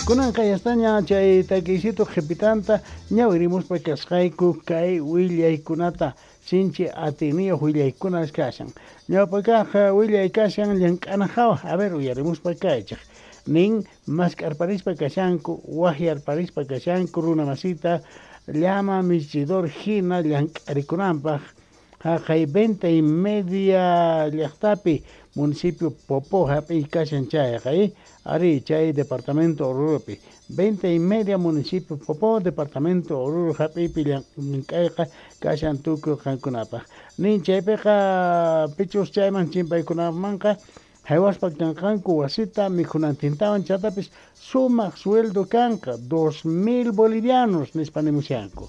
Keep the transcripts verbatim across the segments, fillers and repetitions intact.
Kunanqa yastaña chay takiysitu qhipitanta ñawirimuspa kasqayku kay willaykunata sinchi atiniyuq willaykunas kashan. Ñawpakaq willay kashan llank'ana hawa, a ver uyarimuspa kaychik. Nin mask'arparispa kashanku, waqyarparispa kashanku runa masita llama michidor hina llank'arikunanpaq haqay Venta y Media llaqtapi municipio Popó hap'iy kashan chayqa, ari chay departamento Oruropi. Venta y Media municipio Popó departamento Oruro hap'iypi llank'ayqa kashan tukuy qankunapaq. Nin chaypiqa pichus chayman chimpaykunamanqa haywaspa kanqanku wasita mikhunantintawan chantapis sumaq sueldo kanqa dos mil bolivianos nispa nimushanku.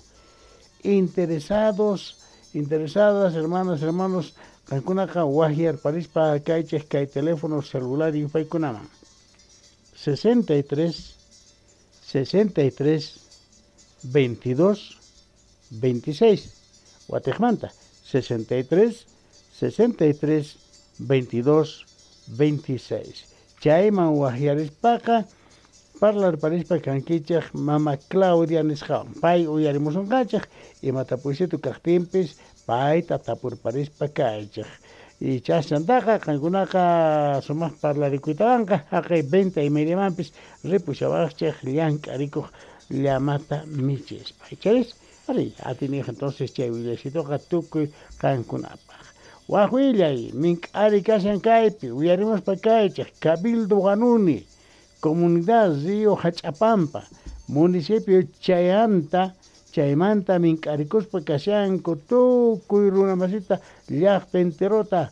Interesados, interesadas hermanas, hermanos, qankunaqa waqyarparispa kaychik kay teléfono celular yupaykunaman. sesenta y tres, sesenta y tres, veintidós, veintiséis. Watiqmanta, sesenta y tres, sesenta y tres, veintidós, veintiséis. Chayman waqyarispaqa parlarparispa kankichik mama Claudia nisqawan. Pay uyarimusunqachik imata puysitu kaqtinpis payta tapurparispa kaychik. Y chashantaqa qankunaqa sumaq parlarikuytawanqa haqay venta y mediamanpis ripushawaqchik llank'arikuq llamata michispa. Icharis ari atiniyuq entonces chay willasituqa tukuy qankunapaq. Waq willay mink'ari kashan kaypi uyarimuspa kaychik Cabildo Huanuni, comunidad Río Hach'apampa, municipio Chayanta, chaymanta mink'arikuspa kashanku tukuy runa masita llaqta enterota,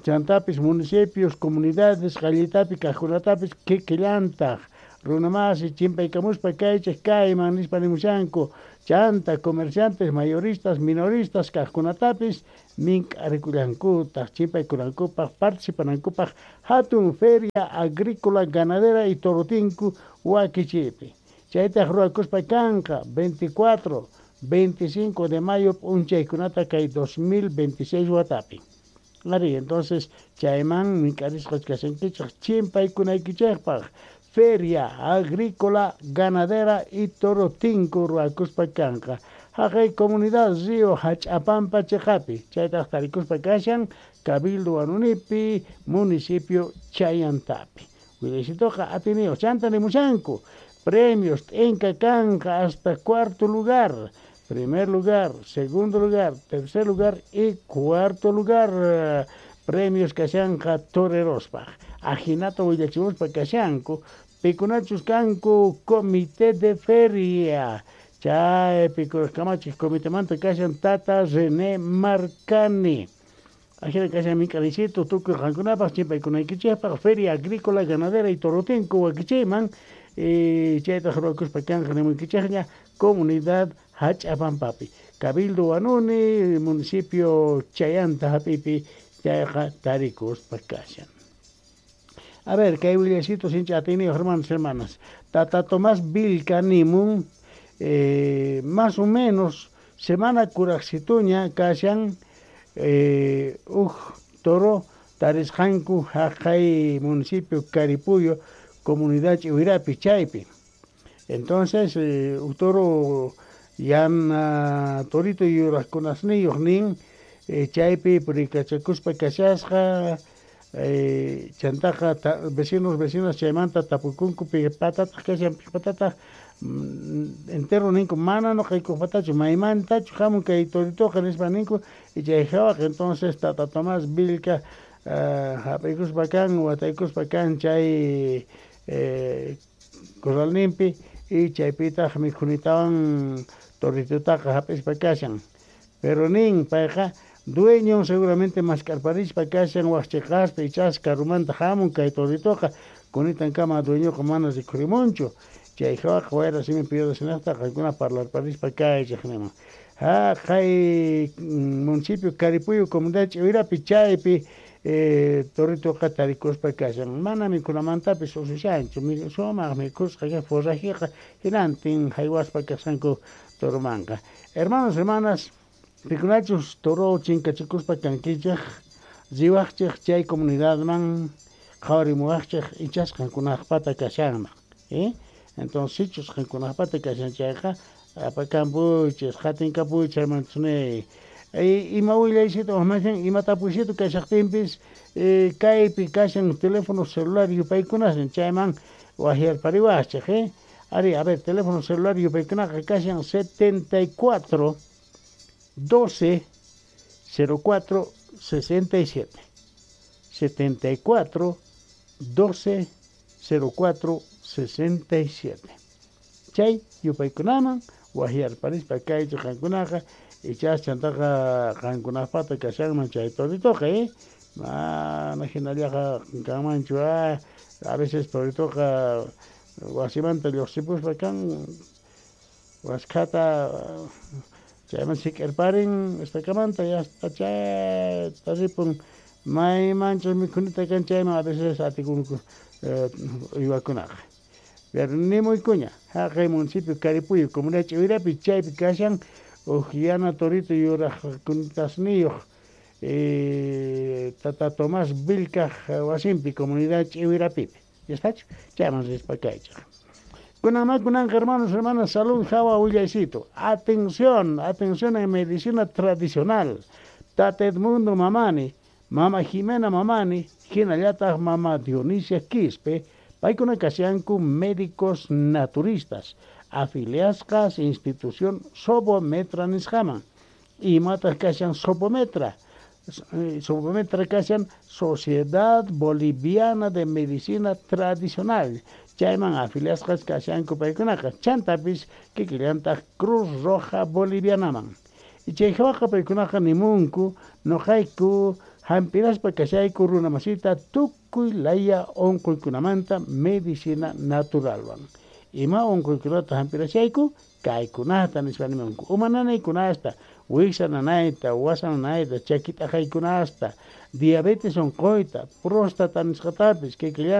chantapis municipios, comunidades qallitapi kaqkunatapis kikillantaq runa masi chimpaykamuspa kaychik kayman nispa nimushanku, chanta comerciantes, mayoristas, minoristas kaqkunatapis mink'arikullankutaq chimpaykunankupaq participanankupaq hatun feria agrícola ganadera y torotinku wakichiypi. Chaytaq ruwakuspa kanqa veinticuatro, veinticinco de mayo p'unchaykunata kay dos mil veintiséis watapi. Ari, entonces chayman mink'arisqa kashankichik chimpaykunaykichikpaq feria agrícola ganadera y torotinku ruwakuspa kanqa. Haqay comunidad Río Hach'apampa chiqapi, chaytaq tarikuspa kashan Cabildo Huanunipi, municipio Chayantapi. Willasituqa atiniyuq chanta nimushanku premios t'inka kanqa hasta cuarto lugar, primer lugar, segundo lugar, tercer lugar y cuarto lugar. Premios kashanqa torerospaq. Ajinata willachimuspa kashanku, pikunachus kanku comité de feria. Chaypi kamachik comitemanta kashan tata René Marcani. Ajina kashan mink'arisitu tukuy qankunapaq chimpaykunaykichikpaq feria agrícola ganadera y torotinku wakichiyman. Y chaytaq ruwakuspa kanqa nimuykichikña comunidad Hach'apampapi. Cabildo Huanuni, municipio Chayanta hap'ipi chayqa tarikuspa kashan. A ver, kay willasito sinchi atiniyuq hermanos, hermanas. Tata Tomás Vilca nimun, eh, más o menos semana kuraqsituña kashan, eh, uj toro tarisqanku haqay municipio Caripuyo, comunidad Ch'iwirapi chaypi. Entonces, eh, uj toro yana torito yuraqkunasniyuq nin, eh, chaypi purikachakuspa kashasqa, eh, chantaqa ta, vecinos, vecinas chaymanta tapukunku pipatataq kashan pipatataq, mm, entero ninku mana nuqaykupatachu maymantachu hamun kay toritoqa nispa ninku, y chay hawaqa entonces tata Tomás Vilca, uh, hap'aykuspa kan wataykuspa kan chay, eh, corralninpi y chaypitaq mikhunitawan toritotaqa hap'ispa kashan. Pero nin payqa dueño seguramente mask'arparispa kashan waqchiqaspa ichas karumanta hamun kay toritoqa kunitankama dueñoqa mana rikhurimunchu. Chay hawaqa wayra simi piyodasinaqta qankuna parlarparispa kaychik niman. Haqay municipio Caripuyo comunidad Ch'iwirapi chaypi, eh, toritoqa tarikuspa kashan. Mana mikhunamantapis usushanchu, sumaq mikhusqa forrajiqa hinantin haywaspa kasqanku toromanqa. Hermanos, hermanas, pikunachus toro chinkachikuspa kankichik, riwaqchik chay comunidadman qhawarimuwaqchik ichas qankunaqpata kashanman, eh? Entonces sichus qankunapata kashan chayqa apakamuychis qhatinkapuychis hermanos ney. Ima willaysito wajmashin ima tapuysito kashaqtinpis kaypi kashan teléfono celular yupaykunasnin chayman wajyarpariwachej eh. Ari, a ver, teléfono celular yupaykunaqa kashan setenta y cuatro doce cero cuatro sesenta y siete. setenta y cuatro doce cero cuatro sesenta y siete. Chay yupaykunaman wajyarparispa kaychu qankunaqa ichas chantaqa qankunapata kashanman chay toritoqa eh. Mana hinallaqa kanmanchu ah, a veces toritoqa wasimanta lluqsipuspa kan waskhata chayman sik'irparin estakamanta ya hasta chayta ripun maymanchus mikhunita kan chayman a veces atikunku uywakunaqa. Pero nimuykuña haqay municipio Caripuyo comunidad Ch'iwirapi chaypi kashan uj yana torito yuraqkunitasniyuq eh, tata Tomás Vilcaj wasinpi comunidad Ch'iwirapipi. ¿Ya está? Chayman rispa kaychej. Kunanma kunanqa hermanos, hermanas, salud hawa willaycito. Atención, atención en medicina tradicional. Tata Edmundo Mamani, Mama Jimena Mamani, hinallataq Mama Dionisia Quispe, paykuna kashanku médicos naturistas, afiliasqas institución Sobometra nisqaman. Imataq kashan Sobometra? Sobometra kashan Sociedad Boliviana de Medicina Tradicional. Chayman afiliasqas kashanku paykunaqa. Chantapis kikillantaq Cruz Roja Bolivianaman. Y chay hawaqa paykunaqa nimunku noqayku hampiraspa kashayku runamasita tukuy laya unquykunamanta medicina naturalwan. Ima unquykunata hampirashayku kaykunata nispa nimunku. Uma nanaykunasta, wiksa nanayta, wasa nanayta, chaki t'aqaykunasta, diabetes unquyta, próstata nisqatapis, kikillanta